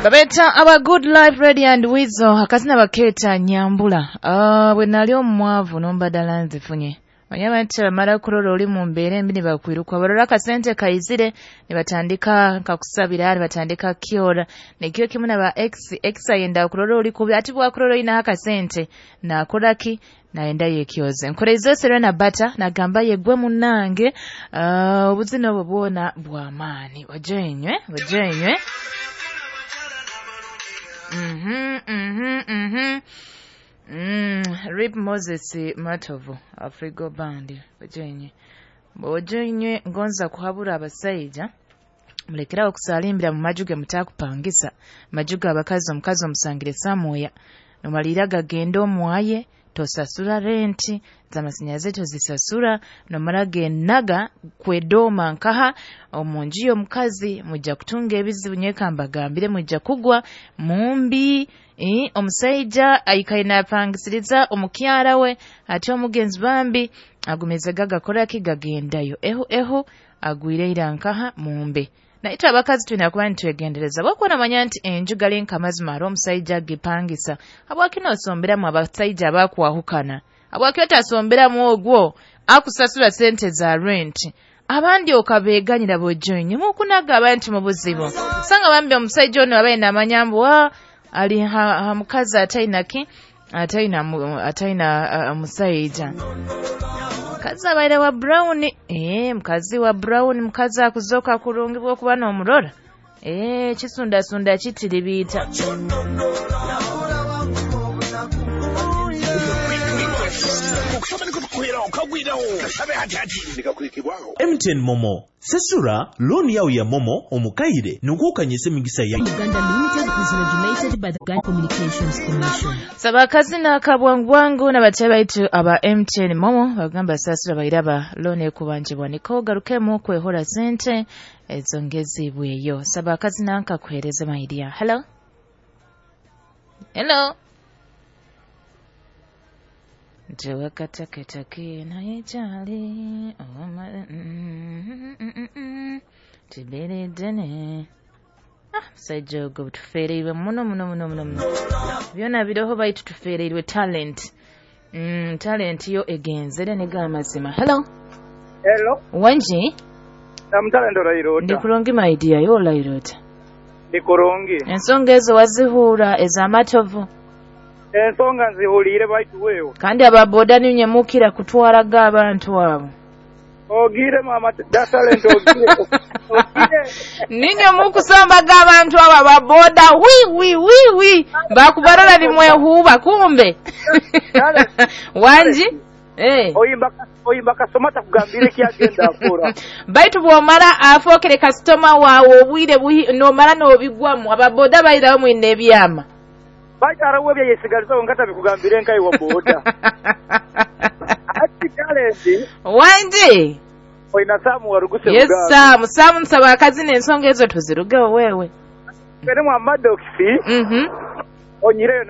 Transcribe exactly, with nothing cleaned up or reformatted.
Babeta aba Good Life Radio and Weasel, akazina baketa Nyambula. Ah, bwe nali omwavu nombadala nzifunye. Manya nti bamala kurora oli mu mbeera embi ne bakwiruka, barora akasente kaizire ne batandika nkakusabira, ne batandika kyora nekyo kimu naba ex ex ayenda kurora oli kubi, ati bwakurora oyinaho akasente nakoraki, naenda yekyoze. Nkoreize Serena Bata nagamba yegwe munnange. uh, obuzina obwo bwona bw'amaani. Ojenywe ojenywe. Mhm, mhm, mhm. Mm, Rip Moses Matovu, Afrigo Band, ojenye. Ojenye ngonza kuhabura abasaija, mulekerawo okusalimbira mu maju ge mutakupangisa. Maju g'abakazi, omukazi omusangire samuya. Nomalira gagenda omwaye, tosasura renti, z'amasannyalaze tozisasura, nomara genaga kwedoma nkaha omu nju y'omukazi, mujja kutunga ebizibu. Nyeka mbagambire, mujja kugwa mumbi. Eh, omusaija aikaire napangisiriza omukyara we, ate omugenzi bambi agumize gagakoraki, gagendayo ehu ehu agwire ira nkaha mumbe. Naitwe abakazi tulina kuba nitwegendereza, bwakuba namanya nti enju gali nkamazima hariho omusaija agipangisa, habwaki nosomberamu abasaija abakwahukana? Habwaki otasomberamu ogwo akusasura sente za renti, abandi okabeganyira bojoinye mukunaga abantu mu buzibu? Sanga bambi omusaija ono abaye namanya mbu ah, ali ha, ha mukazi ataina ki, ataina mu- ataina uh, musaija. Mukazi abaire wa brown, eh, mukazi wa brown, mukazi akuzoka kurungi bwokuba n'omurora, eh, kisundasunda kitiribiita. M T N MoMo, sasura looni yawe ya MoMo omukaire nukwo okanyisa emigisa ya Uganda Limited is regulated by the Uganda Communications Commission. Saba akazina akabwangubwangu n'abatya baitu aba M T N MoMo bagamba sasura bairaba looni ekubanjibwa niko garukemu kwehora sente ezongezibweyo. Saba akazina nkakuhereze maidia. Hello, hello. Tewakataketake naye kyali oma- mm, mm, mm, mm. Tiberedene. Ah, musajja ogwo tufeereirwe muno muno muno muno muno, byona biroho baitu tufeereirwe talent. mm, talent yo egenzere nega amazima. Hello. Hello. Wanji. Namutale Olairota. Ndi kurungi maidia, yo olairota? Ndi kurungi. Ensonga ezo wazihuura ez'amatovu? Ensonga nzihuliire, baitu wewe. Kandi ababoda ninye mukira kutwaraga abantu abo. Ogire mama da talent, ogire. Ogire. Ninye mukusombaga abantu abo ababoda, wi wi wi wi, bakubarora nimwehuba kumbe. Wanji. Eh. Oyimba oyimba kasoma takugambire kyagenda akora. Baitu bwomara afookere kasitoma waawe obwire buhi- nomara n'obigwamu, ababoda bairawo mwine ebyama. Baitu arawe bya yesigaliza ngata bikugambire nkai wa boda. Ati talent. Wanji. Oyina Samu waruguse. Yes, Samu Samu, nsaba akazina, ensonga ezo tuzirugeho wewe. Kene mwa Maddox. Mhm. Onyireyo.